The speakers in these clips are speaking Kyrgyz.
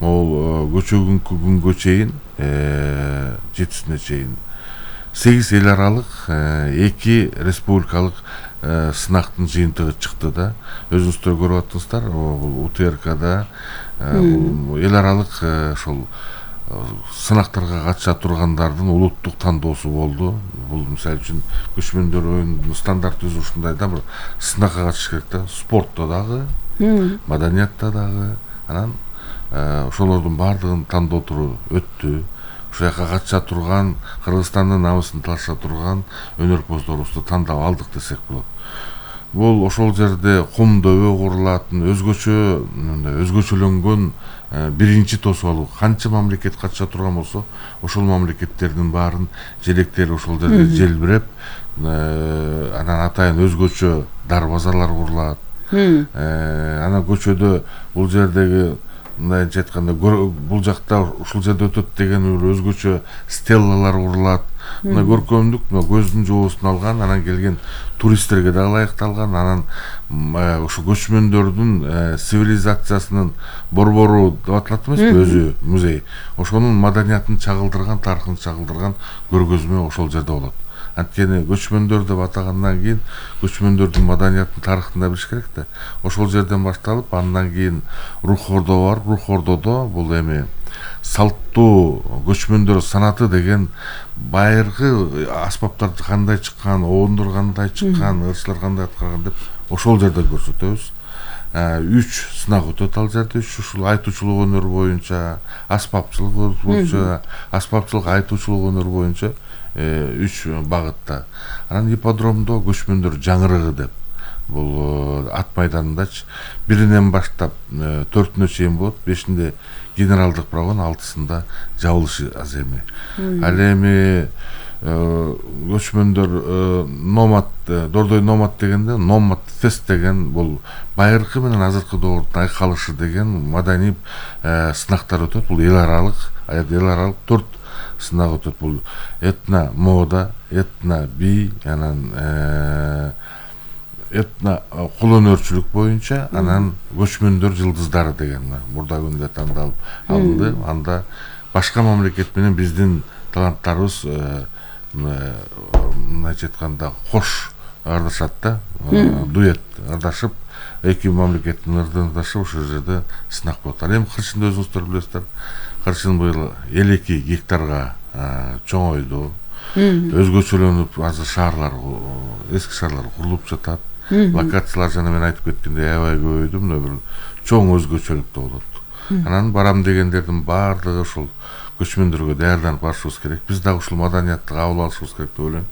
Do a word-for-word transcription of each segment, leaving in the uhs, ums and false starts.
могул көчөгүнкү күнгө чейин жетисине чейин сегиз эл аралык эки республикалык сынактын жыйынтыгы чыкты да. Өзүңүздөр көрүп атасыздар, бул У Т Р Кда эл аралык ошол сынактарга катыша тургандардын улуттук тандоосу болду. Бул мисалы үчүн көчмөндөр оюнунун стандарт өзү ушундай да, бир сынакка катышыш керек да, спортто дагы, маданиятта дагы. Анан ошолордун баардыгын тандоо туру өттү. Ошол жака катыша турган, Кыргызстандын намысын талаша турган өнөрпоздорубузду тандап алдык десек болот. Бул ошол жерде кум дөбө курулатын, өзгөчө өзгөчөлөнгөн биринчи тосуолу. Канча мамлекет катыша турган болсо, ошол мамлекеттердин баарын желектери ошол жерде желбиреп, анан атайын өзгөчө дарбазалар курулат. Анан көчөдө бул жердеги мындайча айтканда бул жакта ушул жерде өтөт деген бир өзгөчө стеллалар курулат. Мына көркөмдүк, мына көздүн жоосун алган, анан келген туристтерге да ылайыкталган. Анан ошо көчмөндөрдүн цивилизациясынын борбору деп аталат эмеспи, өзү музей. Ошонун маданиятын чагылдырган, тарыхын чагылдырган көргөзмө ошол жерде болот. Анткени көчмөндөр деп атагандан кийин көчмөндөрдүн маданиятын, тарыхын да билиш керек да. Ошол жерден башталып, андан кийин Рух Ордо бар. Рух Ордодо бул эми салттуу көчмөндөр санаты деген байыркы аспаптар кандай чыккан, оондор кандай чыккан, ырчылар кандай аткарган деп ошол жерде көрсөтөбүз. үч сынак өтөт ал жерде. үч ушул айтуучулук өнөр боюнча, аспапчылык боюнча, аспапчылык айтуучулук өнөр боюнча үч багытта. Анан ипподромдо көчмөндөр жаңырыгы деп, бул ат майданындачы биринен баштап төртүнө чейин болот. Бешинде генералдык прогон, алтысында жабылышы аз эми. Ал эми көчмөндөр номад, дордой номад дегенде, номад фест деген бул байыркы менен азыркы доордун айкалышы деген маданий сынактар өтөт. Бул эл аралык, эл аралык төрт сынак өтөт. Бул этно мода, этно би, анан этно кул өнөрчүлүк боюнча, анан көчмөндөр жылдыздары деген мурда күндө тандалып алынды. Анда башка мамлекет менен биздин таланттарыбыз мындайча айтканда кош ырдашат да, дуэт ырдашып, эки мамлекеттин ырдашып ошол жерде сынак болот. Ал эми кырчынды өзүңүздөр билесиздер. Кырчын быйыл элүү эки гектарга чоңойду. Өзгөчөлөнүп, азыр шаарлар, эски шаарлар курулуп жатат. Локациялар жана мен айтып кеткендей аябай көбөйдү, мына бир чоң өзгөчөлүктө болот. Анан барам дегендердин баардыгы ушул көчмөндөргө даярданып барышыбыз керек. Биз дагы ушул маданиятты кабыл алышыбыз керек деп ойлойм.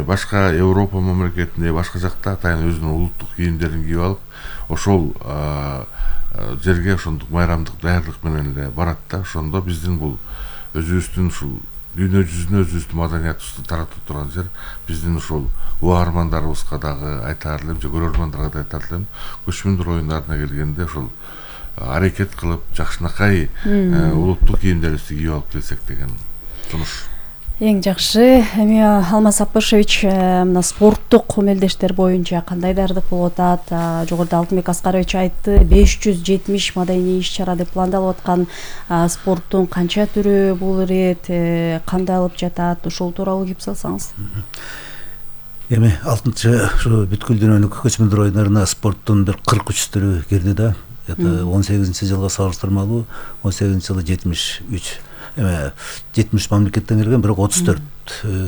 Башка Европа мамлекетинде, башка жакта атайын өзүнүн улуттук кийимдерин кийип алып, ошол жерге ошондук майрамдык даярдык менен эле барат да. Ошондо биздин бул өзүбүздүн ушул дүйнө жүзүнө өзүбүздүн маданиятыбызды таратып турган жер. Биздин ушул угармандарыбызга дагы айтаар элем, же көрөрмандарга да айтаар элем, көчмөндөр оюндарына келгенде ошол аракет кылып, жакшынакай улуттук кийимдерибизди кийип алып келсек деген сунуш. Эң жакшы. Эми Алмаз Аппашевич, мына спорттук мелдештер боюнча кандай даярдык болуп атат? Жогоруда Алтынбек Аскарович айтты, беш жүз жетимиш маданий иш-чара деп пландалып аткан. Спорттун канча түрү бул ирет, кандай алып жатат? Ошол тууралуу кеп салсаңыз. Эми алтынчы ушу бүткүл дүйнөлүк көчмөндөр оюндарына спорттун бир кырк үч түрү кирди да. он сегизинчи жылга салыштырмалуу он сегизинчи жылы жетимиш үч эме жетимиш мамлекеттен келген, бирок отуз төрт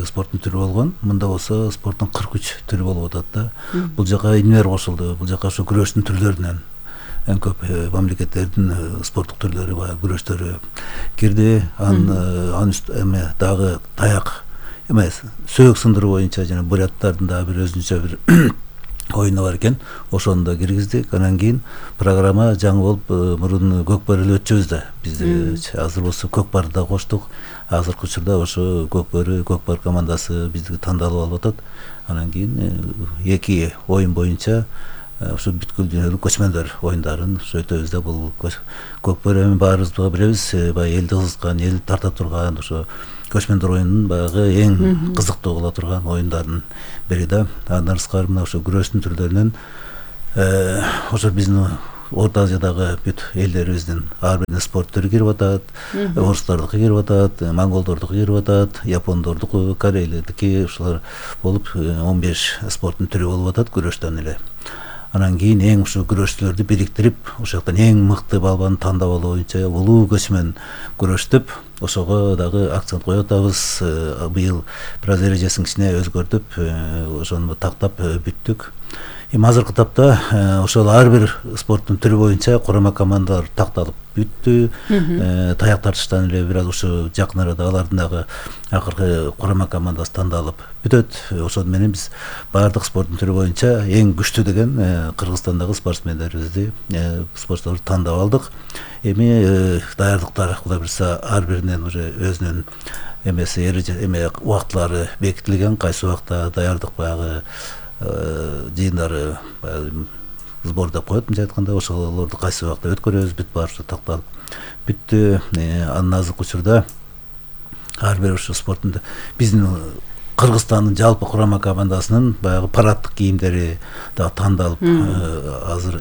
спорттун түрү болгон. Мында болсо спорттун кырк үч түрү болуп атат да. Бул жака инвер кошулду. Бул жака ошо күрөштүн түрлөрүнөн эң көп мамлекеттердин спорттук түрлөрү, баягы күрөштөрү кирди. Анын эме дагы таяк эмес, сөөк сындыруу боюнча жана буряттардын дагы бир өзүнчө бир оюну бар экен. Ошону да киргиздик. Анан кийин программа жаңы болуп, мурун көкбөрү өтчүбүз да. Биз азыр болсо көкбарды да коштук. Азыркы учурда ошо көкбөрү, көкбар командасы бизди тандалып алып атат. Анан кийин эки оюн боюнча ошо бүткүл дүйнөлүк көчмөндөр оюндарын ошо өтөбүз да. Бул көкбөрү эми баарыбыз билебиз, баягы элди кызыккан, эл тарта турган ошо көчмөндөр оюнунун баягы эң кызыктуу кыла турган оюндардын бири да. Андан сырткары мына ошо күрөштүн түрлөрүнөн ошо биздин Орто Азиядагы бүт элдерибиздин ар бир спорт түрү кирип атат. Орустардыкы кирип атат, монголдордуку кирип атат, япондордуку, корейлердики, ушулар болуп он беш спорттун түрү болуп атат күрөштөн эле. Анан кийин эң ушу күрөшчүлөрдү бириктирип, ошол жактан эң мыкты балбанды тандап алуу боюнча улуу көч менен күрөштүп, ошого дагы акцент коюп атабыз. Быйыл бир аз эрежесин кичине өзгөртүп, ошону тактап бүттүк. Эми азыркы тапта ошол ар бир спорттун түрү боюнча курама командалар такталып бүттү. Таяк тартыштан эле бир аз ушу жакын арада алардын дагы акыркы курама командасы тандалып бүтөт. Ошол менен биз баардык спорттун түрү боюнча эң күчтүү деген Кыргызстандагы спортсмендерибизди, спортчуларды тандап алдык. Эми даярдыктар Кудай буюрса ар биринин уже өзүнүн эмеси эреже эме убактылары бекитилген, кайсы убакта даярдык баягы жыйындары сбор деп коет, мынча айтканда, ошолорду кайсы убакта өткөрөбүз, бүт баары такталып бүттү. Анын азыркы учурда ар бир ушу спорттун биздин Кыргызстандын жалпы курама командасынын баягы параддык кийимдери дагы тандалып, азыр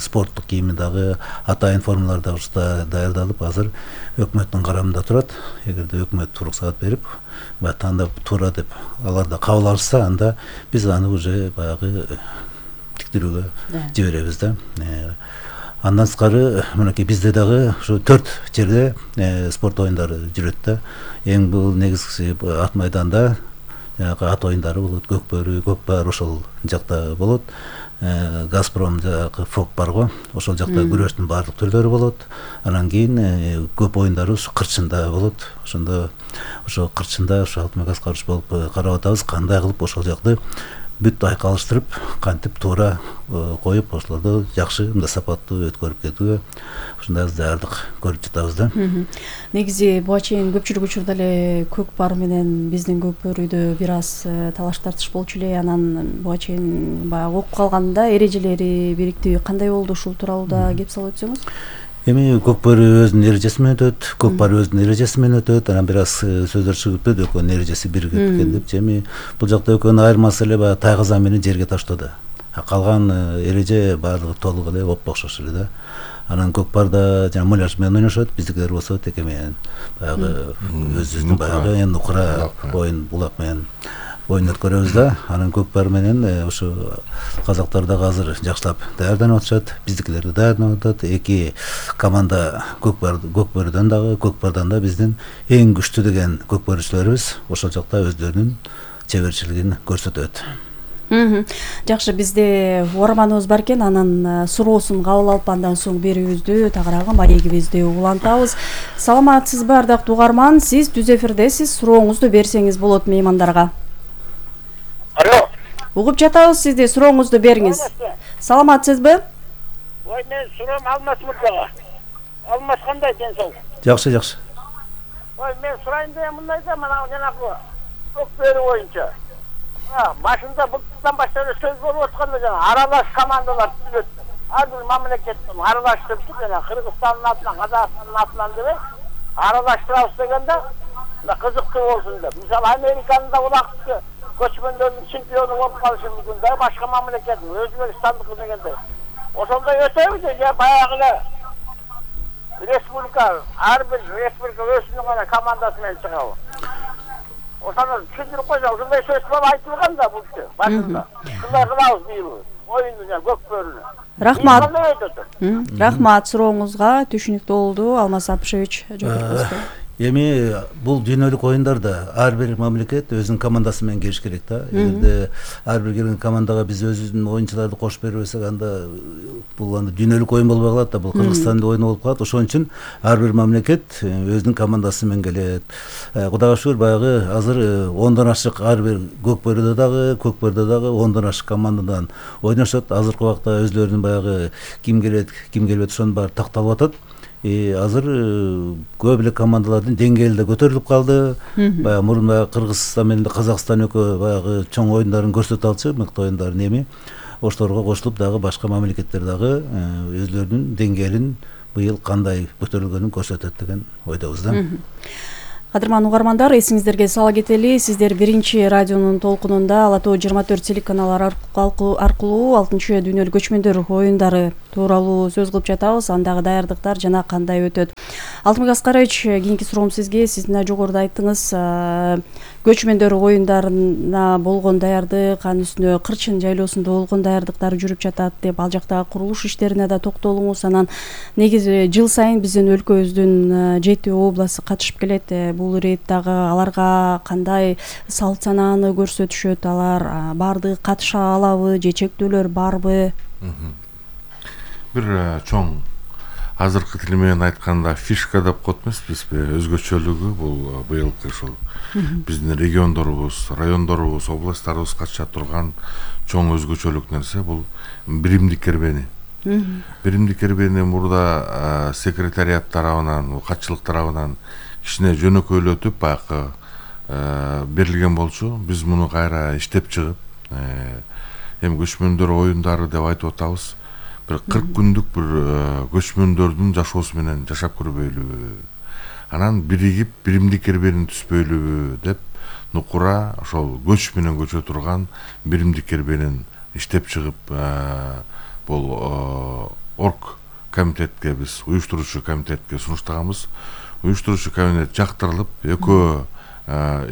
спорттук кийими дагы атайын формалар дагы ушта даярдалып, азыр өкмөттүн карамында турат. Эгерде өкмөт уруксаат берип, баягы тандап туура деп алар да кабыл алышса, анда биз аны уже баягы тиктирүүгө жиберебиз да. Андан сырткары мынакей бизде дагы ушу төрт жерде спорт оюндары жүрөт да. Эң бул негизгиси ат майданда ат оюндары болот, көкбөрү, көкпар ошол жакта болот. Газпром жагы фок бар го, ошол жакта күрөштүн баардык түрлөрү болот. Анан кийин көп оюндары ушу кырчында болот. Ошондо ошо кырчында ушу Алтынбек Аскарович болуп карап атабыз, кандай кылып ошол жакты бүт айкалыштырып, кантип туура коюп, ошолорду жакшы, мындай сапаттуу өткөрүп кетүүгө ушундай даярдык көрүп жатабыз да. Негизи буга чейин көпчүлүк учурда эле көкпар менен биздин көкбөрүдө бир аз талаш тартыш болчу эле. Анан буга чейин баягы окуп калганда эрежелери, бириктиги кандай болду, ушул тууралуу да кеп салып өтсөңүз. Эми көкбөрү өзүнүн эрежеси менен өтөт, көкпар өзүнүн эрежеси менен өтөт. Анан бир аз сөздөр чыгып өтөт, экөөнүн эрежеси биригип кеткен деп. Эми бул жакта экөөнүн айырмасы эле баягы тайгазан менен жерге таштоодо. Калган эреже баардыгы толук эле оппо окшош эле да. Анан көкпарда жана муляж менен ойношот, биздикилер болсо теке менен баягы өзүбүздүн баягы эми нукура оюн булак менен оюн өткөрөбүз да. Анан көкпар менен ушу казактар дагы азыр жакшылап даярданып атышат, биздикилер да даярданып атат. Эки команда көкпар көкбөрүдөн дагы, көкпардан да биздин эң күчтүү деген көкбөрүчүлөрүбүз ошол жакта өздөрүнүн чеберчилигин көрсөтөт. Жакшы, бизде угарманыбыз бар экен, анын суроосун кабыл алып, андан соң берүүбүздү, тагыраагы маегибизди улантабыз. Саламатсызбы, ардактуу угарман? Сиз түз эфирдесиз, сурооңузду берсеңиз болот меймандарга. Алло. Угуп жатабыз сизди, сурооңузду бериңиз. Саламатсызбы? Ой, мен суроом Алмаз мырзага. Алмаз кандай ден соолук? Жакшы, жакшы. Ой, мен сурайын деген мындай да, мына жанагы көкбөрү боюнча. А, башында былтырдан баштап сөз болуп атканда жана аралаш командалар түзүлөт. Ар бир мамлекеттин аралаштырып, жана Кыргызстандын атынан, Казакстандын атынан деп аралаштырабыз дегенде, мына кызыктуу болсун деп. Мисалы Американын да улакты көчмөндөрдүн чемпиону болуп калышы мүмкүн да, башка мамлекеттин, Өзбекстандыкы дегендей. Ошондой өтөбүз же баягы эле республика, ар бир республика өзүнүн гана командасы менен чыгабы. Ошону түшүндүрүп койсо, ушундай сөз болуп айтылган да бул киши башында. Шундай кылабыз быйыл оюнду жана көкбөрүнү. Рахмат. Рахмат, сурооңузга түшүнүктүү болду. Алмаз Апышевич жооп берсеңиз. Эми бул дүйнөлүк оюндарда ар бир мамлекет өзүнүн командасы менен келиш керек да. Эгерде ар бир келген командага биз өзүбүздүн оюнчуларды кошуп бербесек, анда бул анда дүйнөлүк оюн болбой калат да, бул Кыргызстандын оюну болуп калат. Ошон үчүн ар бир мамлекет өзүнүн командасы менен келет. Кудайга шүгүр, баягы азыр ондон ашык ар бир көкбөрүдө дагы, көкбөрдө дагы ондон ашык командадан ойношот. Азыркы убакта өзлөрүнүн баягы ким келет, ким келбейт, ошонун баары такталып атат. Азыр көп эле командалардын деңгээли да көтөрүлүп калды. Баягы мурун баягы Кыргызстан менен Казакстан экөө баягы чоң оюндарын көрсөтө алчу, мыкты оюндарын. Эми ошолорго кошулуп дагы башка мамлекеттер дагы өзлөрүнүн деңгээлин быйыл кандай көтөрүлгөнүн көрсөтөт деген ойдобуз да. Кадырман угармандар, эсиңиздерге сала кетели, сиздер биринчи радионун толкунунда Ала Тоо жыйырма төрт телеканалары аркылуу алтынчы дүйнөлүк көчмөндөр оюндары тууралуу сөз кылып жатабыз. Андагы даярдыктар жана кандай өтөт? Алтынбек Аскарович, кийинки суроом сизге. Сиз мына жогоруда айттыңыз, көчмөндөр оюндарына болгон даярдык, анын үстүнө Кырчын жайлоосунда болгон даярдыктар жүрүп жатат деп, ал жактагы курулуш иштерине да токтолуңуз. Анан негизи жыл сайын биздин өлкөбүздүн жети областы катышып келет. Бул ирет дагы аларга кандай салт санааны көрсөтүшөт? Алар баардыгы катыша алабы же чектөөлөр барбы? Бир чоң азыркы тил менен айтканда фишка деп коет эмеспизби? Өзгөчөлүгү бул быйылкы ушул биздин региондорубуз, райондорубуз, областтарыбыз катыша турган чоң өзгөчөлүк нерсе бул биримдик кербени. Биримдик кербени мурда секретариат тарабынан, катчылык тарабынан кичине жөнөкөйлөтүп баягы берилген болчу. Биз муну кайра иштеп чыгып, эми көчмөндөр оюндары деп айтып атабыз. Бир кырк күндүк бир көчмөндөрдүн жашоосу менен жашап көрбөйлүбү, анан биригип биримдик кербени түзбөйлүбү деп нукура ошол көч менен көчө турган биримдик кербенин иштеп чыгып, бул орг комитетке, биз уюштуруучу комитетке сунуштаганбыз. Уюштуруучу комитет жактырылып, экөө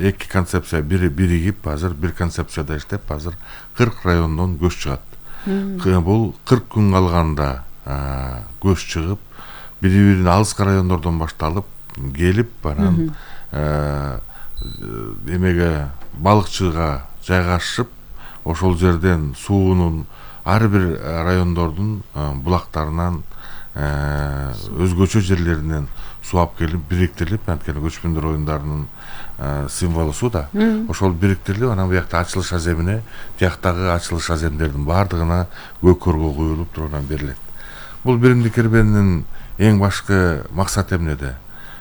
эки концепция биригип, азыр бир концепцияда иштеп, азыр кырк райондон көч чыгат. Бул кырк күн калганда көч чыгып, бири-бирин алыскы райондордон башталып келип, анан эмеге балыкчыга жайгашып, ошол жерден суунун ар бир райондордун булактарынан, өзгөчө жерлеринен суу алып келип бириктирилип, анткени көчмөндөр оюндарынын символу суу да. Ошол бириктирилип, анан буякта ачылыш аземине, тияктагы ачылыш аземдердин баардыгына көкөргө куюлуп туруп анан берилет. Бул биримдик кербенин эң башкы максаты эмнеде?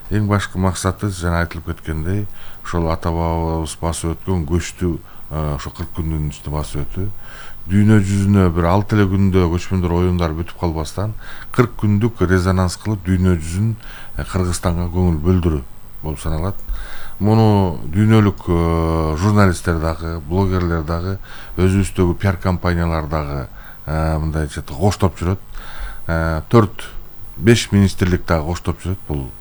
Эң башкы максаты жана айтылып кеткендей, ошол ата бабабыз басып өткөн көчтү ошо кырк күндүн ичинде басып өтүү. Дүйнө жүзүнө бир алты эле күндө көчмөндөр оюндары бүтүп калбастан кырк күндүк резонанс кылып дүйнө жүзүн Кыргызстанга көңүл бөлдүрүү болуп саналат. Муну дүйнөлүк журналисттер дагы, блогерлер дагы, өзүбүздөгү пиар компаниялар дагы мындайча коштоп жүрөт. төрт беш министрлик дагы коштоп жүрөт. Бул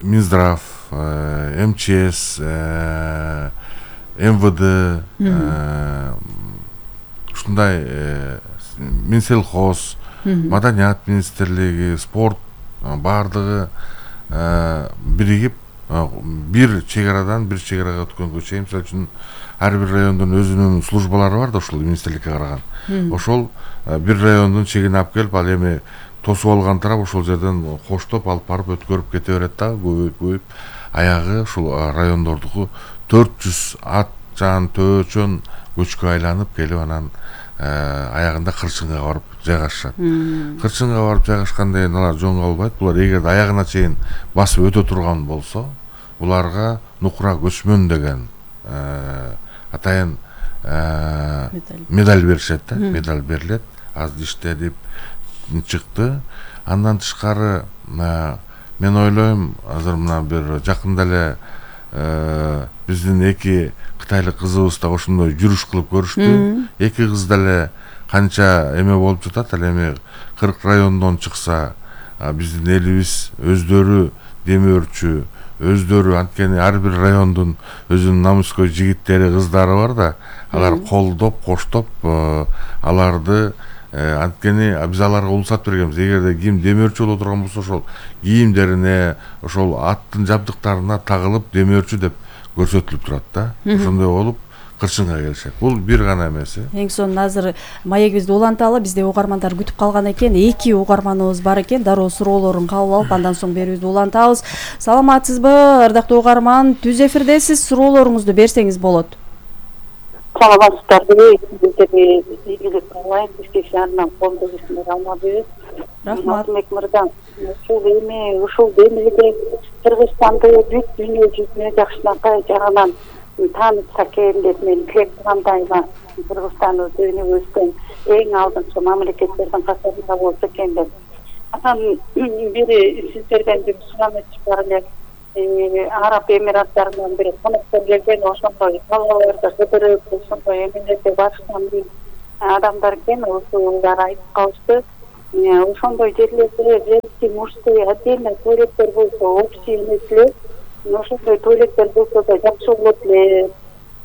Минздрав, эм че эс, эм вэ дэ, ушундай Минсельхоз, Маданият министрлиги, спорт баардыгы биригип бир чегарадан бир чегарага өткөнгө чейин, мисалы үчүн ар бир райондун өзүнүн службалары бар да, ошол министрликке караган. Ошол бир райондун чегине алып келип, ал эми тосуп алган тарап ошол жерден коштоп алып барып өткөрүп кете берет да, көбөйүп көбөйүп аягы ушул райондордуку төрт жүз ат жан төөчөн көчкө айланып келип, анан аягында Кырчынга барып жайгашышат. Кырчынга барып жайгашканда алар жөн калбайт. Булар эгерде аягына чейин басып өтө турган болсо, буларга нукура көчмөн деген атайын медаль беришет да, медаль берилет. Аз иштедип чыкты. Андан тышкары мен ойлойм, азыр мына бир жакында эле биздин эки кытайлык кызыбыз да ошондой жүрүш кылып көрүштү. Эки кыз деле канча эме болуп жатат, ал эми кырк райондон чыкса, биздин элибиз өздөрү демөөрчү, өздөрү, анткени ар бир райондун өзүнүн намыскөй жигиттери, кыздары бар да, алар колдоп, коштоп аларды, анткени биз аларга улсат бергенбиз. Эгерде ким демөөрчү боло турган болсо, ошол кийимдерине, ошол аттын жабдыктарына тагылып демөөрчү деп көрсөтүлүп турат да. Ошондой болуп Кырчынга келишет. Бул бир гана эмес. Эң сонун азыр маегибизди уланталы, бизде угармандар күтүп калган экен. Эки угарманыбыз бар экен. Дароо суроолорун кабыл алып, андан соң берүүбүздү улантабыз. Саламатсызбы, ырдактуу угарман? Түз эфирдесиз, суроолоруңузду берсеңиз болот. Саламатсыздарбы? Сиздерге ийгилик каалайм. Бизге шаарынан коомдо кишилер алмадыбыз. Рахмат. Мырза, ушул эми ушул демилге Кыргызстанды бүт дүйнө жүзүнө жакшынакай жагынан таанытса экен деп мен тилек кылгандайм. Кыргызстан өзүнүн эң алдыңкы мамлекеттердин катарында болсо экен деп. Анан бири сиздерден бир сураныч бар эле. Араб Эмираттарынан бир коноктор келген, ошондой талааларды кыдырып, ошондой эмелерге барышкан адамдар экен, ошолар айтып калышты. Ошондой жерлерде женский, мужской отдельно туалеттер болсо, общий эмес эле. Ошондой туалеттер болсо да жакшы болот эле.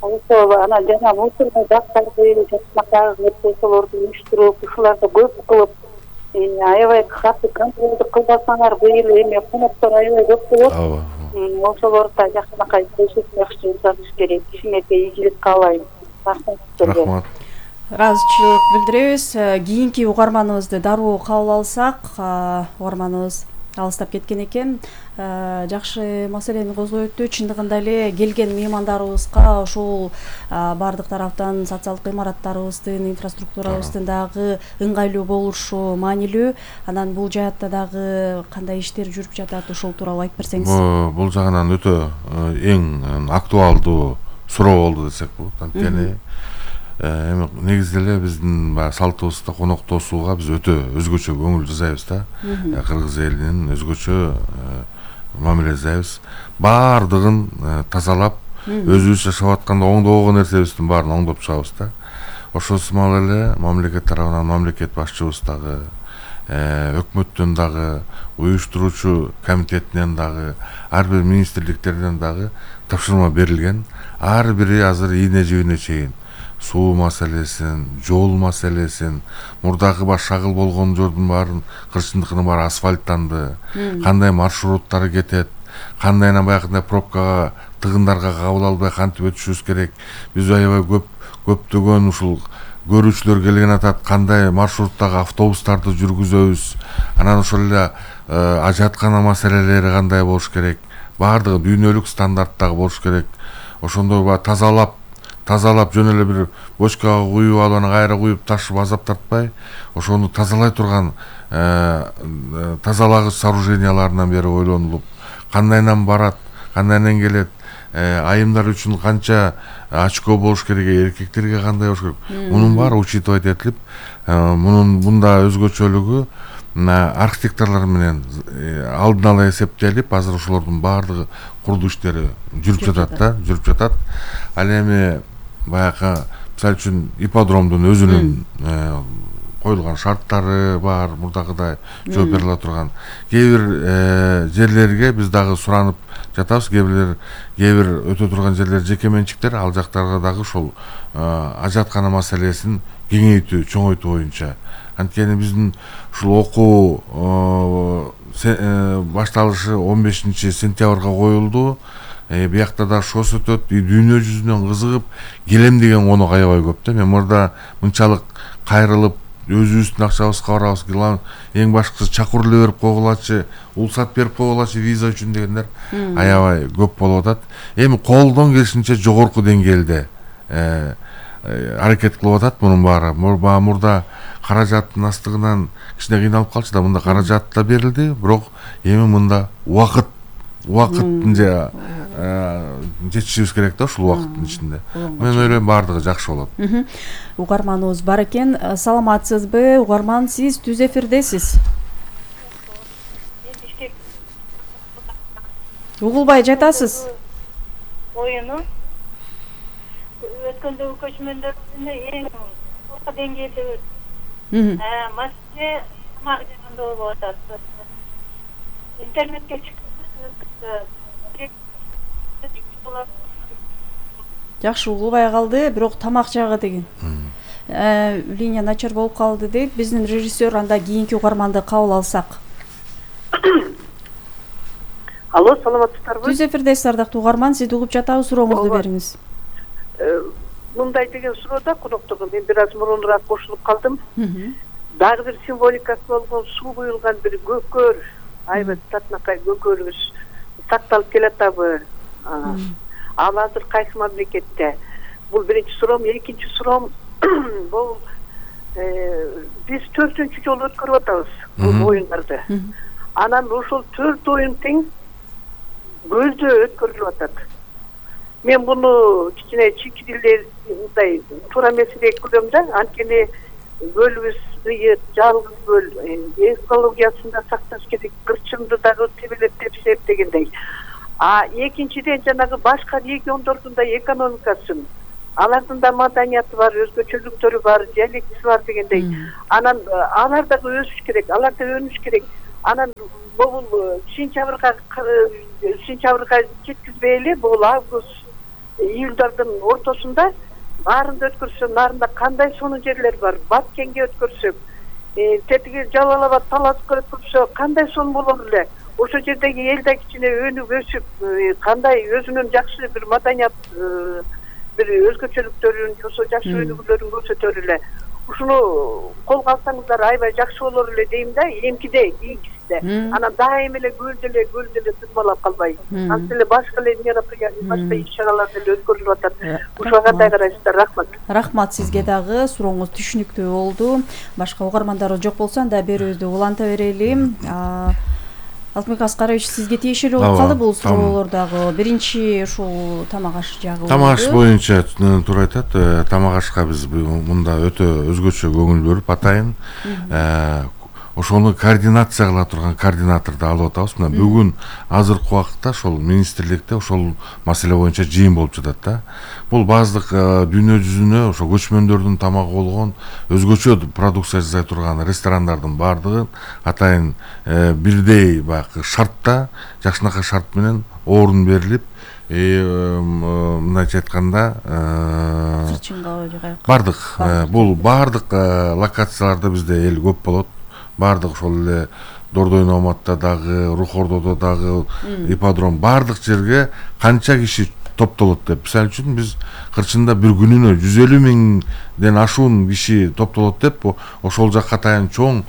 Ошо анан жана мусорный бактарды жакшынакай ошолорду уюштуруп, ушуларды көп кылып, аябай катуу контролду кылбасаңар, быйыл эми коноктор аябай көп болот. ооба. Ошолорду да жакшынакай көзөтүп жакшы жасаш керек. Кичинекей ийгилик каалайм. Рахмат сизге. Рахмат. ыраазычылык билдиребиз. Кийинки угарманыбызды дароо кабыл алсак, угарманыбыз алыстап кеткен экен. Жакшы маселени козгойту. Чындыгында эле келген меймандарыбызга ошол бардык тараптан социалдык имараттарыбыздын, инфраструктурабыздын дагы ыңгайлуу болушу маанилүү. Анан бул жаатта дагы кандай иштер жүрүп жатат, ошол тууралуу айтып берсеңиз. Бул жагынан өтө эң актуалдуу суроо болду десек болот. Анткени эми негизде эле биздин баягы салтыбызда коноктосууга биз өтө өзгөчө көңүл жасайбыз да. Кыргыз элинин өзгөчө мамиле жасайбыз. Баардыгын тазалап, өзүбүз жашап атканда оңдогон нерсебиздин баарын оңдоп чыгабыз да. Ошол сымал эле мамлекет тарабынан мамлекет башчыбыз дагы, өкмөттөн дагы, уюштуруучу комитетинен дагы, ар бир министрликтерден дагы тапшырма берилген. Ар бири азыр ийне жибине чейин суу маселесин, жол маселесин, мурдагы баш шагыл болгон жолдун баарын, кырчындыкынын баары асфальттанды, кандай маршруттары кетет, кандайынан баягындай пробкага, тыгындарга кабыл албай кантип өтүшүбүз керек. Биз аябай көп көптөгөн ушул көрүүчүлөр келген атат, кандай маршруттагы автобустарды жүргүзөбүз, анан ошол эле ажаткана маселелери кандай болуш керек, баардыгы дүйнөлүк стандарттагы болуш керек. Ошондой ба тазалап тазалап жөн эле бир бочкага куюп алып, анан кайра куюп ташып азап тартпай, ошону тазалай турган тазалагыч сооруженияларынан бери ойлонулуп, кандайынан барат, кандайынан келет, айымдар үчүн канча очко болуш керек, эркектерге кандай болуш керек. Мунун баары учитывать этилип, мунун мында өзгөчөлүгү архитекторлор менен алдын ала эсептелип, азыр ошолордун баардыгы курдуу иштери жүрүп жатат да, жүрүп жатат. Ал эми баягы мисалы үчүн ипподромдун өзүнүн коюлган шарттары бар, мурдагыдай жооп бериле турган. Кээ бир жерлерге биз дагы суранып жатабыз, кээ бир кээ бир өтө турган жерлер жеке менчиктер, ал жактарга дагы ошол ажаткана маселесин кеңейтүү, чоңойтуу боюнча. Анткени биздин ушул окуу башталышы он бешинчи сентябрга коюлду. Биякта да шос өтөт, дүйнө жүзүнөн кызыгып келем деген конок аябай көп да. Мен мурда мынчалык кайрылып өзүбүздүн акчабызга барабыз, эң башкысы чакыр эле берип койгулачы, улсат берип койгулачы виза үчүн дегендер аябай көп болуп атат. Эми колдон келишинче жогорку деңгээлде аракет кылып атат мунун баары. Мурда каражаттын астыгынан кичине кыйналып калчу да, мында каражат да берилди, бирок эми мында убакыт убакыттын же жетишибиз керек да ушул убакыттын ичинде. Мен ойлойм баардыгы жакшы болот. Угарманыбыз бар экен. Саламатсызбы? Угарман, сиз түз эфирдесиз. Угулбай жатасыз? Оюну өткөндөгү көчмөндөрдө эң орто деңгээлде өтүп, маселе тамак жагында болуп атат. Интернетке чыгып жакшы угулбай калды, бирок тамак жагы деген. Линия начар болуп калды дейт. Биздин режиссер, анда кийинки угарманды кабыл алсак. Алло, саламатсыздарбы? Түз эфирдесиз, ардактуу угарман, сизди угуп жатабыз, сурооңузду бериңиз. Мындай деген суроода конокторго мен бир аз мурунураак кошулуп калдым. Дагы бир символикасы болгон суу буюлган бир көкөр, аябай татынакай көкөрүбүз сакталып келатабы? Ал азыр кайсы мамлекетте? Бул биринчи суроом. Экинчи суроом, бул биз төртүнчү жолу өткөрүп атабыз бул оюндарды. Анан ошол төрт оюн тең көздө өткөрүлүп атат. Мен буну кичине чийкидилер мындай туура эмес деп көрөм да. Анткени көлүбүз ыйыт, жалгыз көл, экологиясын да сакташ керек, кырчынды дагы тебелеп тепсеп дегендей. А экинчиден жанагы башка региондордун да экономикасын алардын да маданияты бар, өзгөчөлүктөрү бар, диалектиси бар дегендей. Анан алар дагы өсүш керек, алар да өнүш керек. Анан бул сентябрга сентябрга жеткизбей эле бул август июлдардын ортосунда баарында өткөрсө, нарында кандай сонун жерлер бар, Баткенге өткөрсөк, тетиги Жалал Абад, Таласкка өткөрсө кандай сонун болор эле. Ошо жердеги эл да кичине өнүп өсүп, кандай өзүнүн жакшы бир маданият, бир өзгөчөлүктөрүн, ошо жакшы өнүгүүлөрүн көрсөтөр эле. Ушуну колго алсаңыздар аябай жакшы болор эле дейм да, эмкиде, кийинкисинде. Анан дайым эле көлдө эле, көлдө эле тырмалап калбай. Антип эле башка эле мероприятие, башка иш-чаралар деле өткөрүлүп атат. Ушуга кандай карайсыздар? Рахмат. Рахмат сизге дагы. Сурооңуз түшүнүктүү болду. Башка угармандар жок болсо анда берүүбүздү уланта берели. Алтынбек Аскарович, сизге тиешелүү болуп калды бул суроолор дагы. Биринчи ушул тамак аш жагы. Тамак аш боюнча туура айтат. Тамак ашка биз мында өтө өзгөчө көңүл бөлүп атайын. Ошону координация кыла турган координаторду алып атабыз. Мына бүгүн азыркы убакытта ошол министрликте ошол маселе боюнча жыйын болуп жатат да. Бул баздык дүйнө жүзүнө ошо көчмөндөрдүн тамагы болгон өзгөчө продукция жасай турган ресторандардын баардыгын атайын бирдей баягы шартта, жакшынакай шарт менен орун берилип, мындайча айтканда баардык бул баардык локацияларда бизде эл көп болот. Баардык ошол эле Дордой Номатта дагы, Рухордодо дагы, ипподром баардык жерге канча киши топтолот деп. Мисалы үчүн биз кырчында бир күнүнө жүз элүү миңден ашуун киши топтолот деп, ошол жакка атайын чоң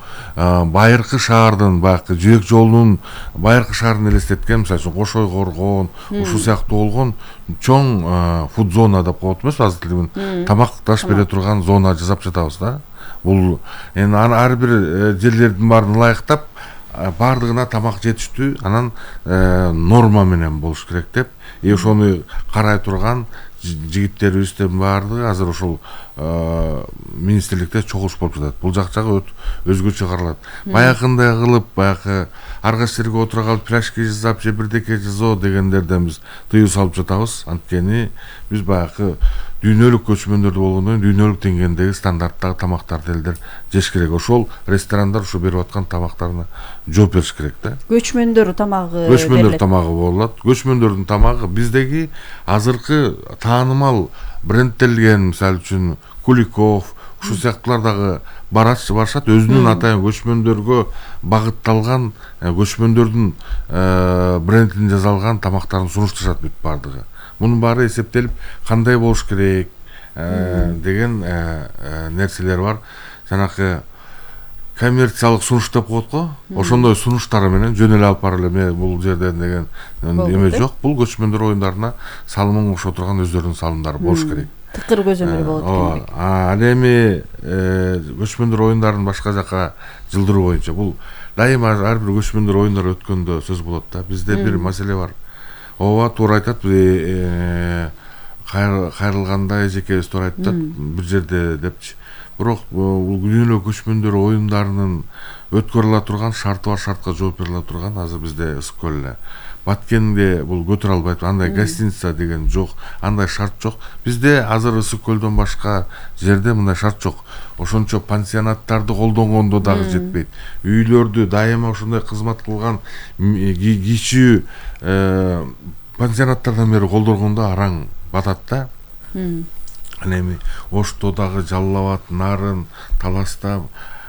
байыркы шаардын, баягы жибек жолунун байыркы шаарын элестеткен, мисалы үчүн Кошой Коргон, ушул сыяктуу болгон чоң фуд зона деп коет эмеспи, азыр тилибин тамакташ бере турган зона жасап жатабыз да. Бул эми ар бир жерлердин баарын ылайыктап, баардыгына тамак жетиштүү, анан норма менен болуш керек деп, и ошону карай турган жигиттерибиздин баардыгы азыр ошол министрликте чогулуш болуп жатат. Бул жак жагы өзгөчө каралат. Баягындай кылып, баягы ар кайсы жерге отура калып пирожки жасап, же бирдеке жасоо дегендерден биз тыюу салып жатабыз. Анткени биз баягы дүйнөлүк көчмөндөрдү болгондон кийин дүйнөлүк деңгээлдеги стандарттагы тамактарды элдер жеш керек. Ошол ресторандар ушу берип аткан тамактарына жооп бериш керек да. Көчмөндөр тамагы Көчмөндөр тамагы болот. Көчмөндөрдүн тамагы биздеги азыркы таанымал брендтелген, мисалы үчүн Куликов, ушул сыяктуулар дагы барышат, өзүнүн атайын көчмөндөргө багытталган, көчмөндөрдүн брендин жасалган тамактарын сунушташат бүт баардыгы. Мунун баары эсептелип кандай болуш керек деген нерселер бар. Жанакы коммерциялык сунуш деп коет го, ошондой сунуштары менен жөн эле алып барып эле бул жерден деген эме жок. Бул көчмөндөр оюндарына салымын кошо турган өздөрүнүн салымдары болуш керек. Тыкыр көзөмөл болот экен. Ал эми көчмөндөр оюндарын башка жака жылдыруу боюнча бул дайыма ар бир көчмөндөр оюндар өткөндө сөз болот да. Бизде бир маселе бар. Ооба, туура айтат, кайрылганда эжекебиз туура айтат, бир жерде депчи. Бирок бул дүйнөлүк көчмөндөр оюндарынын өткөрүлө турган шарты бар, шартка жооп бериле турган азыр бизде ысык көл эле. Баткенде бул көтөрө албайт, андай гостиница деген жок, андай шарт жок. Бизде азыр ысык көлдөн башка жерде мындай шарт жок. Ошончо пансионаттарды колдонгондо дагы жетпейт. Үйлөрдү дайыма ошондой кызмат кылган кичүү пансионаттардан бери колдоргондо араң батат да. Анан эми Ошто дагы, Жалал Абад, Нарын, Таласта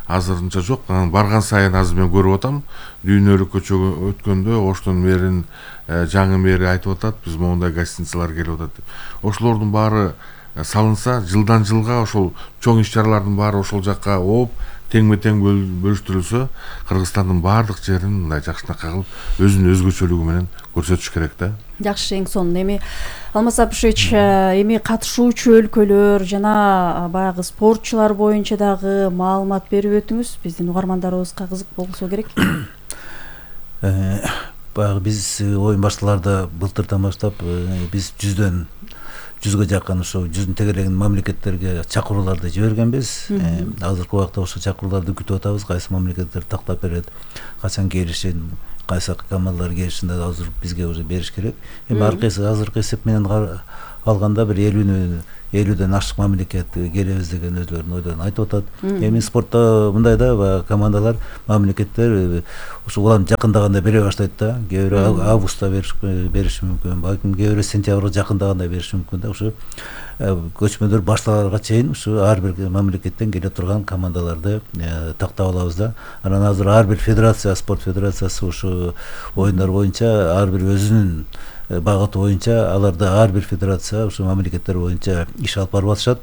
азырынча жок. Анан барган сайын азыр мен көрүп атам, дүйнөлүк көчөгө өткөндө Оштонун мэрин, жаңы мэри айтып атат, биз моундай гостиницалар келип атат деп. Ошолордун баары салынса, жылдан жылга ошол чоң иш-чаралардын баары ошол жакка ооп, теңме-тең бөлүштүрүлсө, Кыргызстандын баардык жерин мындай жакшынакай кылып өзүнүн өзгөчөлүгү менен көрсөтүш керек да. Жакшы, эң сонун. Эми Алмаз Сапышевич, эми катышуучу өлкөлөр жана баягы спортчулар боюнча дагы маалымат берип өтүңүз. Биздин угармандарыбызга кызык болсо керек. Баягы биз оюн башталарда былтырдан баштап биз жүздөн жүзгө жакын ошо жүздүн тегерегин мамлекеттерге чакырууларды жибергенбиз. Азыркы убакта ошо чакырууларды күтүп атабыз. Кайсы мамлекеттер тактап берет, качан келишин, кайсы командалар келишин азыр бизге уже бериш керек. Эми ар кайсы азыркы эсеп менен алганда бир элүү элүүдөн ашык мамлекет келебиз деген өзлөрүнүн ойлорун айтып атат. Эми спортто мындай да баягы командалар, мамлекеттер ушу улам жакындаганда бере баштайт да. Кээ бирөө августта бериши мүмкүн, балким кээ бирөө сентябрга жакындаганда бериши мүмкүн да. Ушу көчмөндөр башталарга чейин ушу ар бир мамлекеттен келе турган командаларды тактап алабыз да. Анан азыр ар бир федерация, спорт федерациясы ушу оюндар боюнча ар бир өзүнүн багыты боюнча аларды ар бир федерация ушу мамлекеттер боюнча иш алып барып атышат.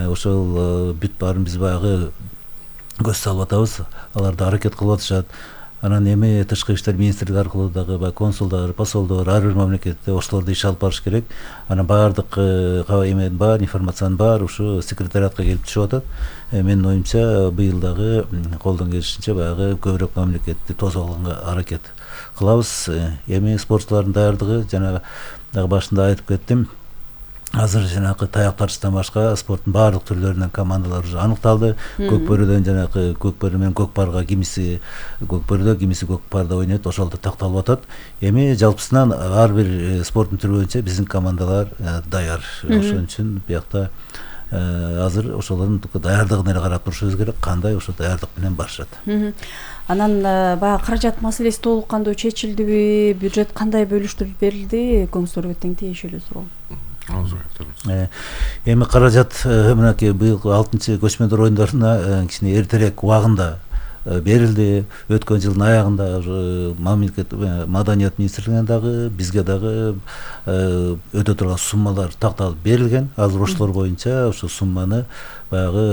Ошол бүт баарын биз баягы көз салып атабыз. Алар да аракет кылып атышат. Анан эми тышкы иштер министрлиги аркылуу дагы баягы консулдар, посолдор ар бир мамлекетте ошолорду иш алып барыш керек. Анан баардык эменин бар, информациянын бар ушу секретариатка келип түшүп атат. Менин оюмча быйыл дагы колдон келишинче баягы көбүрөөк мамлекетти тосуп алганга аракет кылабыз. Эми спортчулардын даярдыгы жана дагы башында айтып кеттим. Азыр жанагы таяк тартыштан башка спорттун баардык түрлөрүнөн командалар уже аныкталды. Көкбөрүдөн жанагы көкбөрү менен көкпарга кимиси көкбөрүдө, кимиси көкпарда ойнойт, ошол да такталып атат. Эми жалпысынан ар бир спорттун түрү боюнча биздин командалар даяр. Ошон үчүн биякта азыр ошолордун даярдыгына эле карап турушубуз керек. Кандай ошо даярдык менен барышат. Анан баягы каражат маселеси толук кандуу чечилдиби? Бюджет кандай бөлүштүрүлүп берилди? Көңүңүзгө тең тиешелүү суроо. Эми каражат мынакей быйылкы алтынчы көчмөндөр оюндарына кичине эртерээк убагында берилди. Өткөн жылдын аягында мамлекет маданият министрлигине дагы бизге дагы өтө турган суммалар такталып берилген. Азыр ошолор боюнча ошо сумманы баягы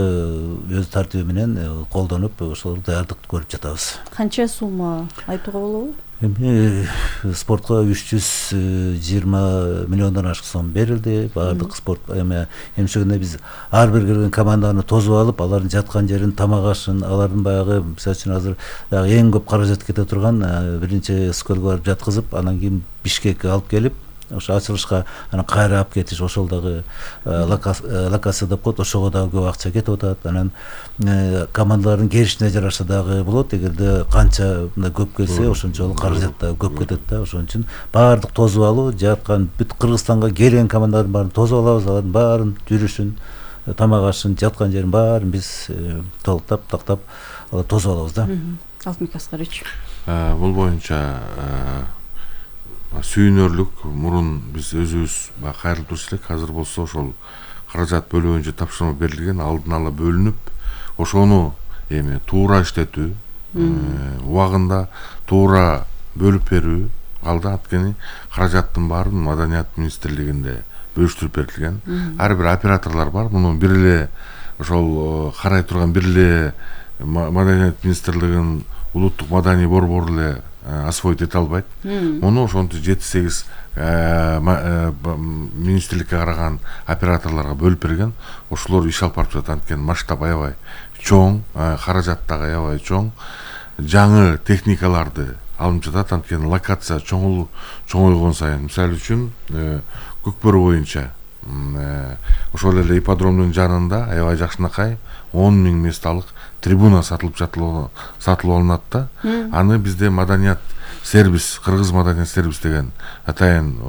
өз тартиби менен колдонуп ошолорду даярдык көрүп жатабыз. Канча сумма айтууга болобу? Эми спортко үч жүз жыйырма миллиондон ашык сом берилди. Баардык спорт эми эмчегенде биз ар бир кирген команданы тосуп алып, алардын жаткан жерин, тамак ашын, алардын баягы мисалы үчүн азыр дагы эң көп каражат кете турган биринчи Скөлгө барып жаткызып, анан кийин Бишкекке алып келип, ошо ачылышка анан кайра алып кетиш, ошол дагы локация деп коет, ошого дагы көп акча кетип атат. Анан командалардын келишине жараша дагы болот. Эгерде канча мындай көп келсе, ошончолук каражат да көп кетет да. Ошон үчүн баардык тосуп алуу, жаткан бүт Кыргызстанга келген командалардын баарын тосуп алабыз, алардын баарын жүрүшүн, тамак ашын, жаткан жерин баарын биз толуктап, тактап тосуп алабыз да. Алтынбек Аскарович. Бул боюнча сүйүнөрлүк, мурун биз өзүбүз кайрылып турчу элек. Азыр болсо ошол каражат бөлүү боюнча тапшырма берилген, алдын ала бөлүнүп, ошону эми туура иштетүү, убагында туура бөлүп берүү калды. Анткени каражаттын баарын маданият министрлигинде бөлүштүрүп берилген. Ар бир операторлор бар. Муну бир эле ошол карай турган бир эле маданият министрлигинин улуттук маданий борбору эле освоить эте албайт. Муну ошентип жети сегиз министрликке караган операторлорго бөлүп берген. Ошолор иш алып барып жатат. Анткени масштаб аябай чоң, каражат дагы аябай чоң. Жаңы техникаларды алып жатат. Анткени локация чоң чоңойгон сайын, мисалы үчүн Көкбөрү боюнча ошол эле ипподромдун жанында аябай жакшынакай он миң месталык трибуна сатылып сатылып алынат да. Аны бизде маданият сервис, Кыргыз маданият сервис деген атайын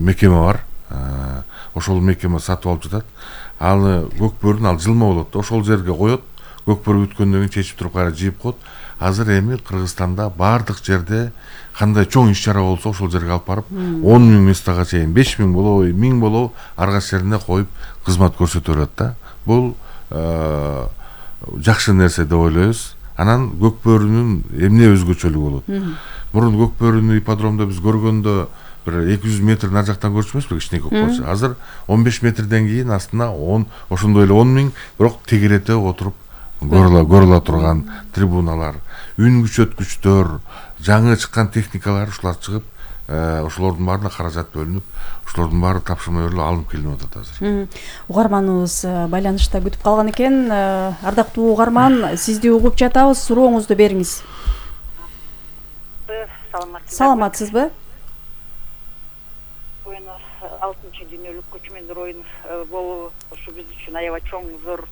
мекеме бар. Ошол мекеме сатып алып жатат. Аны Көкбөрүн ал жылма болот. Ошол жерге коет. Көкбөрү бүткөндөн кийин чечип туруп кайра жыйып коет. Азыр эми Кыргызстанда баардык жерде кандай чоң иш-чара болсо ошол жерге алып барып он миң местага чейин, беш миң болобу, миң болобу ар кайсы жерине коюп кызмат көрсөтө берет да. Бул жакшы нерсе деп ойлойбуз. Анан Көкбөрүнүн эмне өзгөчөлүгү болот? Мурун Көкбөрүнү ипподромдо биз көргөндө бир эки жүз метр нар жактан көрчү эмеспи, кичине Көкбөрчү. Азыр он беш метрден кийин астына он ошондой эле он миң, бирок тегерете отуруп көрүлө көрүлө турган трибуналар, үн күчөткүчтөр, жаңы чыккан техникалар ушулар чыгып, ошолордун баарына каражат бөлүнүп, ошолордун баары тапшырма берилип алынып келинип атат азыр. Угарманыбыз байланышта күтүп калган экен. Ардактуу угарман, сизди угуп жатабыз. Сурооңузду бериңиз. Саламатсызбы? Оюн алтынчы дүйнөлүк көчмөндөр оюну болуу ушу биз үчүн аябай чоң, зор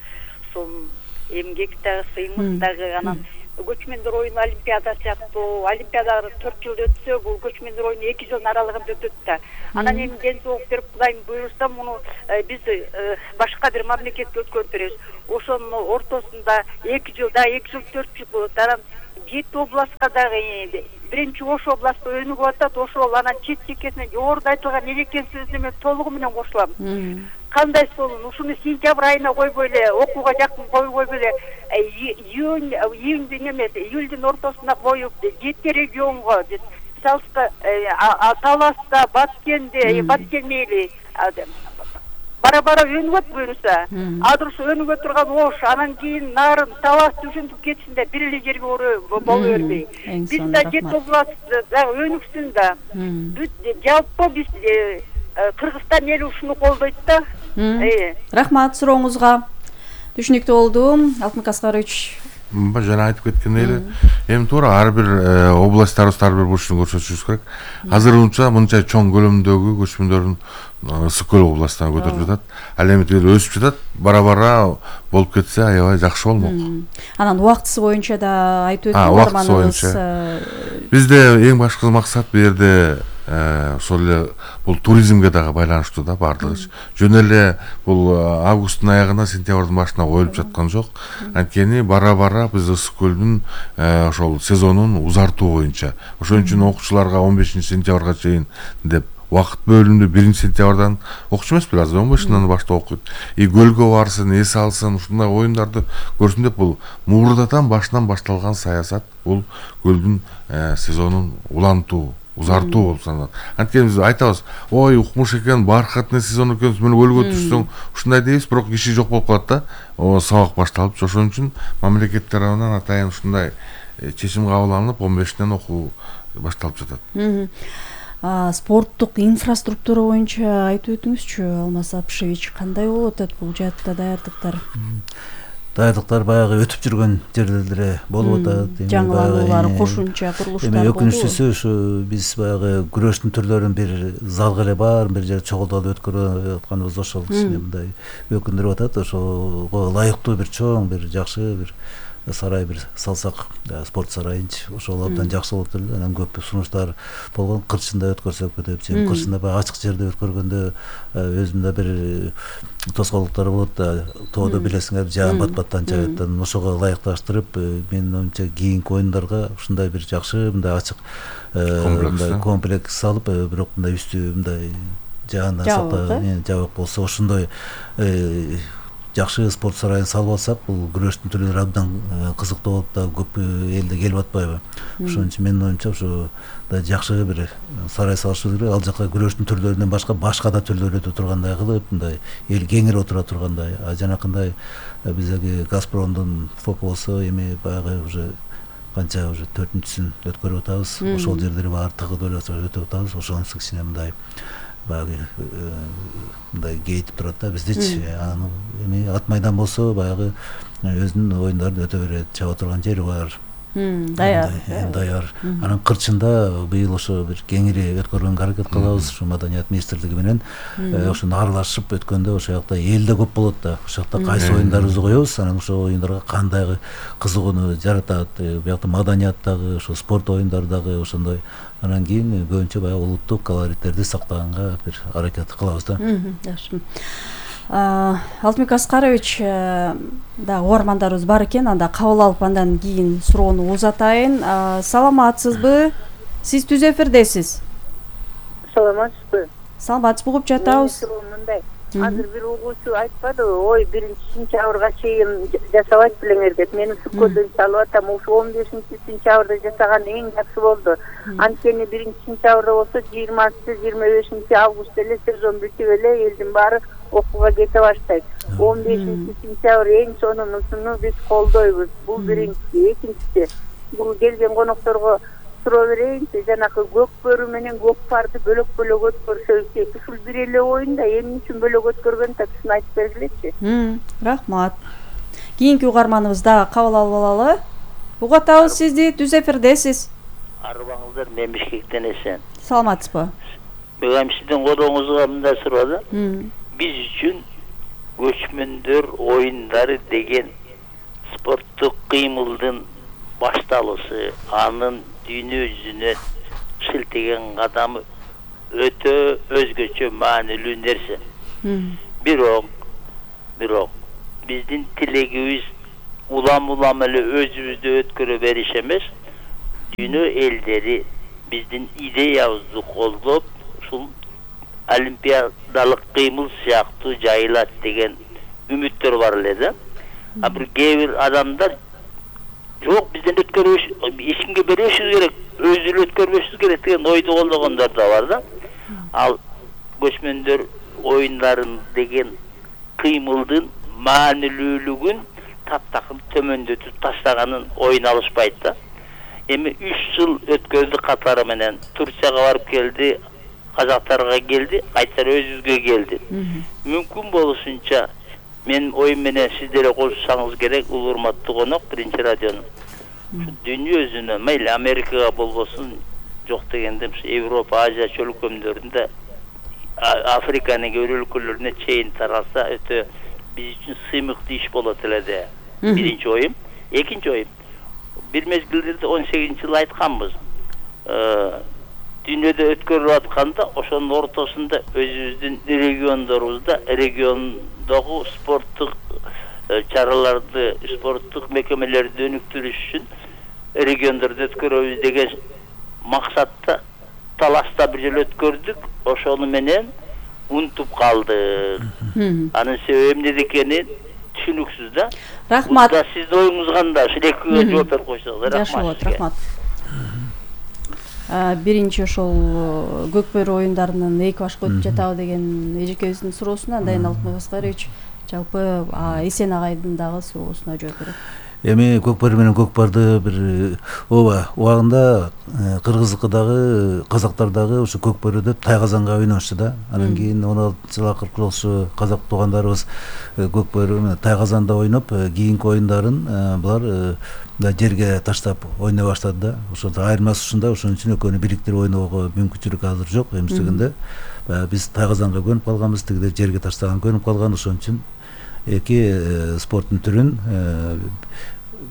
сом эмгек дагы, сыймык дагы, анан көчмөндөр оюну олимпиада сыяктуу, олимпиада төрт жылда өтсө, бул көчмөндөр оюну эки жылдын аралыгында өтөт да. Анан эми ден соолук берип Кудайым буйруса муну биз башка бир мамлекетке өткөрүп беребиз. Ошонун ортосунда эки жылда, эки жыл төрт жыл болот. Анан жети областка дагы биринчи Ош областта өнүгүп атат. Ошол анан чет чекесине жогоруда айтылган элеккен сөзүнө мен толугу менен кошулам. Кандай болсун, ушуну сентябрь айына койбой эле, окууга жакын койбой эле, июнь, июньдүн эмес, июльдүн ортосуна коюп, жети регионго, Салска, Таласта, Баткенде, Баткен мейли, бара-бара өнүгөт буюрса. Азыр ушу өнүгө турган Ош, анан кийин Нарын, Талас түшүндүп кетсинде бир эле жерге боло бербей. Биз да жети област өнүксүн да. Жалпы биз Кыргызстан эли ушуну колдойт да. Рахмат сурооңузга. Түшүнүктүү болду. Алтынбек Аскарович. Жана айтып кеткендей эле, эми туура ар бир областтарыбыз ар бир бурчун көрсөтүшүбүз керек. Азырынча мынча чоң көлөмдөгү көчмөндөрдүн ысык көл областына көтөрүп жатат. Ал эми тиги өсүп жатат. Бара-бара болуп кетсе аябай жакшы болмок. Анан убактысы боюнча да айтып өттү. Бизде эң башкы максат бу жерде ошол эле бул туризмге дагы байланыштуу да баардыгы. Жөн эле бул августтун аягына, сентябрдын башына коюлуп жаткан жок. Анткени бара-бара биз ысык көлдүн ошол сезонун узартуу боюнча, ошон үчүн окуучуларга он бешинчи сентябрга чейин деп убакыт бөлүндү. биринчи сентябрдан окуучу эмеспи, азыр он бешинен баштап окуйт. И көлгө барсын, эс алсын, ушундай оюндарды көрсүн деп бул муурдатан башынан башталган саясат. Бул көлдүн сезонун улантуу, узартуу болуп саналат. Анткени биз айтабыз, ой, укмуш экен, баркатный сезон экен, мен көлгө түшсөң, ушундай дейбиз, бирок киши жок болуп калат да. О, сабак башталып, ошон үчүн мамлекет тарабынан атайын ушундай чечим кабыл алынып, он бешинен окуу башталып жатат. Спорттук инфраструктура боюнча айтып өтүңүзчү, Алмаз Апшевич, кандай болуп атат бул жаатта даярдыктар? Даярдыктар баягы өтүп жүргөн жерде эле болуп атат. Жаңылануулар, кошумча курулуштар болду. Эми өкүнүчтүүсү ушу биз баягы күрөштүн түрлөрүн бир залга эле бар, бир жер чогултуп өткөрүп атканыбыз ошол кичине мындай өкүндүрүп атат. Ошого ылайыктуу бир чоң, бир жакшы бир сарай бир салсак, спорт сарайынчы, ошол абдан жакшы болуп турду. Анан көп сунуштар болгон, кырчында өткөрсөк деп, сен кырчында баягы ачык жерде өткөргөндө өзүндө бир тоскоолдуктар болот да, тоодо билесиңер, жаан бат-баттан жаат. Ошого ылайыкташтырып, менин оюмча кийинки оюндарга ушундай бир жакшы, мындай ачык мындай комплекс салып, бирок мындай үстү мындай жаандан сактаган жабык болсо, ошондой жакшы спорт сарайын салып алсак, бул күрөштүн түрлөрү абдан кызыктуу болуп да көп элде келип атпайбы. Ошон үчүн менин оюмча ушу жакшы бир сарай салышыбыз керек. Ал жака күрөштүн түрлөрүнөн башка башка да түрлөр өтө тургандай кылып, мындай эл кеңири отура тургандай. А жанакындай биздеги Газпромдун фоку болсо, эми баягы уже канча уже төртүнчүсүн өткөрүп атабыз. Ошол жерлери баары тыгып эле өтүп атабыз. Ошонусу кичине мындай баягы мындай кейтип турат да биздичи. Анан эми ат майдан болсо баягы өзүнүн оюндарын өтө берет, чаба турган жери бар. Даяр. Даяр. Анан кырчында быйыл ошо бир кеңири өткөргөнгө аракет кылабыз. Ушу Маданият министрлиги менен ошону аралашып өткөндө ошол жакта эл да көп болот да. Ошол жакта кайсы оюндарыбызды коебуз, анан ошол оюндарга кандай кызыгууну жаратат. Буякта маданият дагы, ошо спорт оюндары дагы ошондой. Анан кийин көбүнчө баягы улуттук колориттерди сактаганга бир аракет кылабыз да. Жакшы. Алтынбек Аскарович, да угармандарыбыз бар экен, анда кабыл алып андан кийин суроону узатайын. Саламатсызбы? Сиз түз эфирдесиз. Саламатсызбы? Саламатсызбы, угуп жатабыз. Азыр бир угуучу айтпадыбы, ой, биринчи сентябрга чейин жасабайт белеңер деп. Мен ысык-көлдөн салып атам, ушу он бешинчи сентябрда жасаган эң жакшы болду. Анткени биринчи сентябрда болсо жыйырмасы жыйырма бешинчи август эле сезон бүтүп эле элдин баары окууга кете баштайт. он бешинчи сентябрь эң сонунусуну биз колдойбуз. Бул биринчиси. Экинчиси, бул келген конокторго суроо берейинчи, жанакы көк бөрү менен көк парды бөлөк-бөлөк өткөрсөбүз. Ушул бир эле оюнда эмне үчүн бөлөк өткөргөн таксын айтып бергилечи. Рахмат. Кийинки угарманыбыз дагы кабыл алып алалы. Угатабыз сизди, түз эфирдесиз. Арыбаңыздар, мен Бишкектен эсен. Саламатсызбы? Бүгүн сиздин колуңузга мындай суроо да. Биз үчүн көчмөндөр оюндары деген спорттук кыймылдын башталышы, анын дүйнө жүзүнө шилтеген кадамы өтө өзгөчө маанилүү нерсе. Бирок, бирок биздин тилегибиз улам-улам эле өзүбүздү өткөрө бериш эмес, дүйнө элдери биздин идеябызды колдоп, ушул олимпиадалык кыймыл сыяктуу жайылат деген үмүттөр бар эле да. А бир кээ бир адамдар жок, бизден өткөрбөш, эч кимге бербешибиз керек, өзү эле өткөрбөшүбүз керек деген ойду колдогондор да бар да. Ал көчмөндөр оюндарын деген кыймылдын маанилүүлүгүн таптакыр төмөндөтүп таштаганын оюн алышпайт да. Эми үч жыл өткөрдү катары менен, Турцияга барып келди, казактарга келди, кайтара өзүбүзгө келди. Мүмкүн болушунча мен оюн менен сиз деле кошулсаңыз керек, улуу урматтуу конок, биринчи радионун. Дүйнө жүзүнө, мейли Америкага болбосун, жок дегенде Европа, Азия чөлкөмдөрүндө, Африканын кээ бир өлкөлөрүнө чейин таралса, өтө биз үчүн сыймыктуу иш болот эле де. Биринчи оюм. Экинчи оюм. Бир мезгилдерде он сегизинчи жылы айтканбыз. Дүйнөдө өткөрүлүп атканда, ошонун ортосунда өзүбүздүн региондорубузда, региондогу спорттук чараларды, спорттук мекемелерди өнүктүрүш үчүн региондордо өткөрөбүз деген максатта талашта бир жыл өткөрдүк. Ошону менен унутуп калдык. Анын себеби эмне экени түшүнүксүз да. Рахмат. Сиздин оюңуз кандай? Ушул экиге жооп берип койсоңуз. Рахмат. Рахмат. Биринчи ошол көкбөрү оюндарынын эки башка өтүп жатабы деген эжекебиздин суроосуна Дайын Алтынбек Аскарович жалпы Эсен агайдын дагы суроосуна жооп берет. Эми көкбөр менен көкпарды бир ооба убагында кыргыздыкы дагы, казактар дагы ушу көкбөрүдө тайказанга ойношчу да. Анан кийин он алтынчы жылы акыркы ошо казак туугандарыбыз көкбөрү менен тайказанда ойноп, кийинки оюндарын булар жерге таштап ойной баштады да. Ошо айырмасы ушунда, ошон үчүн экөөнү бириктирип ойноого мүмкүнчүлүк азыр жок. Эместегенде биз тайказанга көнүп калганбыз, тигилер жерге таштаган көнүп калган. Ошон үчүн эки спорттун түрүн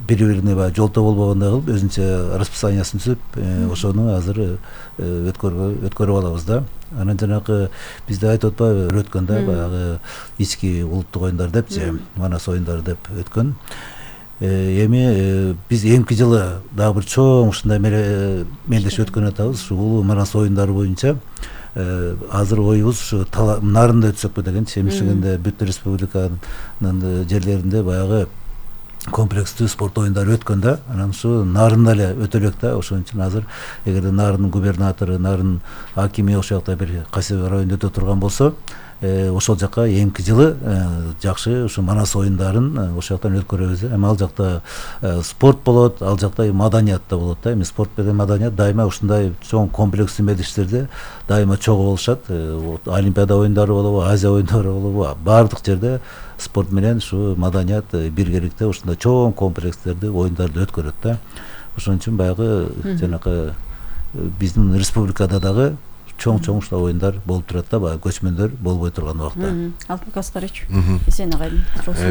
бири-бирине баягы жолтоо болбогондой кылып өзүнчө расписаниясын түзүп, ошону азыр өткөрүп өткөрүп алабыз да. Анан жанагы бизде айтып атпайбы өткөндө баягы ички улуттук оюндар депчи, Манас оюндары деп өткөн. Эми биз эмки жылы дагы бир чоң ушундай мелдешип өткөн атабыз. Ушу улуу Манас оюндары боюнча азыр оюбуз ушу нарында өтсөкпү дегенчи. Эместегенде бүт республиканын жерлеринде баягы комплекстүү спорт оюндары өткөн да. Анан ушу нарында эле өтө элек да. Ошон үчүн азыр эгерде Нарын губернатору, Нарын акими ошол жакта бир кайсы бир районда өтө турган болсо, ошол жака эмки жылы жакшы ушу Манас оюндарын ошол жактан өткөрөбүз. Эми ал жакта спорт болот, ал жакта маданият да болот да. Эми спорт менен маданият дайыма ушундай чоң комплекстүү мелдештерде дайыма чогуу болушат. Олимпиада оюндары болобу, Азия оюндары болобу, баардык жерде спорт менен ушу маданият биргеликте ушундай чоң комплекстерди, оюндарды өткөрөт да. Ошон үчүн баягы жанагы биздин республикада дагы чоң-чоң ушул оюндар болуп турат да, баягы көчмөндөр болбой турган убакта. Алтынбек Аскарович, Эсен агайдын суроосу.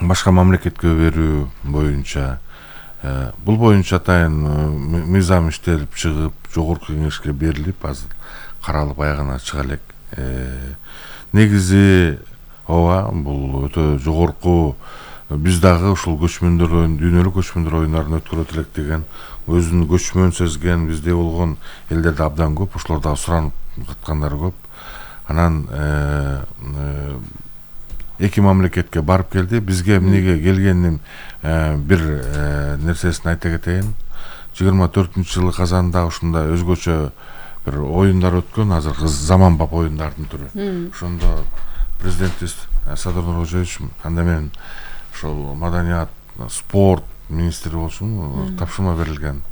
Башка мамлекетке берүү боюнча, бул боюнча атайын мыйзам иштелип чыгып, жогорку кеңешке берилип, азыр каралып аягына чыга элек. Негизи ооба, бул өтө жогорку, биз дагы ушул көчмөндөр оюн, дүйнөлүк көчмөндөр оюндарын өткөрөт элек деген өзүн көчмөн сезген бизде болгон элдерде абдан көп, ошолор дагы суранып каткандар көп. Анан эки мамлекетке барып келди. Бизге эмнеге келгенин бир нерсесин айта кетейин. жыйырма төртүнчү жылы Казанда ушундай өзгөчө бир оюндар өткөн, азыр заманбап оюндардын түрү. Ошондо президентибиз Садыр Нуркожоевич анда мен ошол маданият, спорт министри болушун тапшырма берилген.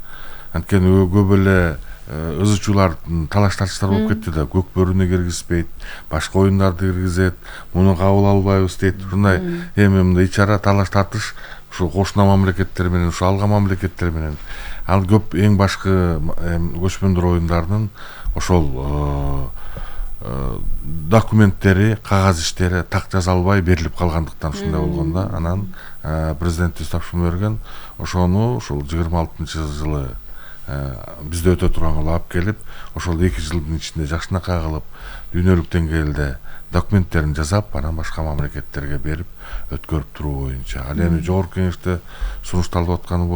Анткени көп эле ызы чуулар, талаш тартыштар болуп кетти да. Көкбөрүнү киргизбейт, башка оюндарды киргизет, муну кабыл албайбыз дейт. Ушундай эми мындай ичара талаш тартыш ушул кошуна мамлекеттер менен, ушул алган мамлекеттер менен. Ал көп эң башкы көчмөндөр оюндарынын ошол документтери, кагаз иштери так жазалбай берилип калгандыктан ушундай болгон да. Анан президентибиз тапшырма берген, ошону ушул жыйырма алтынчы жылы бизде өтө турган алып келип, ошол эки жылдын ичинде жакшынакай кылып дүйнөлүк деңгээлде документтерин жасап, анан башка мамлекеттерге берип өткөрүп туруу боюнча. Ал эми жогорку кеңеште сунушталып атканы